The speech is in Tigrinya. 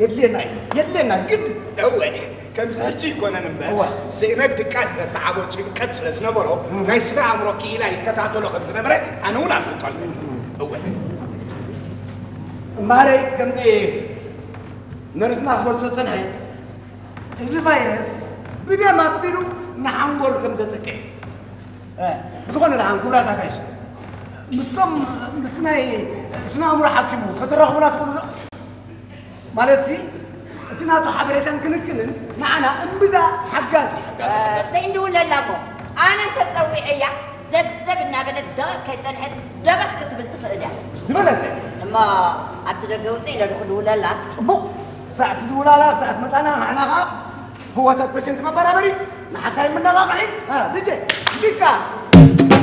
የድልየና እዩ፣ የድልየና ግድ። እወ፣ ከምዚ ሕጂ ይኮነን እምበር፣ እወ። ስእነት ድቃስ ዘሰዓቦ ጭንቀት ስለ ዝነበሮ፣ ናይ ስነ ኣእምሮ ክኢላ ይከታተሎ ከም ዝነበረ ኣነ እውን ኣፍልጦ ኣለኒ። እወ። እምበኣረይ ከምዚ ነርስና ክገልጾ ጸንሐ፣ እዚ ቫይረስ ብደም ኣቢሉ ንሓንጎል ከም ዘጥቅዕ፣ እ፣ ብዝኾነ ደሓን ክብላታ ካይሽ ምስቶም፣ ምስ ናይ ስነ ኣእምሮ ሓኪሙ ከተራኽቡና ትኽእሉ ዶ? ማለት ሲ እቲ ናቱ ሓበሬታን ክንክንን ንዓና እምብዛ ሓጋዚ። ዘይንድውለላ እሞ ኣነ እንተፀዊዐያ ዘብዘብ እናበለት ደቂቕ ከይፀንሐት ደበኽ ክትብል ትኽእል እያ። ዝበለጸ እሞ ኣብቲ ደገ ውፅእ ኢለ ዶ ክድውለላ? ጽቡቕ። ሳዕ ትድውላላ፣ ሳዕ ትመጻና፣ ንሕና ኸዓ ህዋሳት ፔሸንት መበራበሪ ንሓካይም መነቓቕሒ። እ፣ ድጀ ሙዚቃ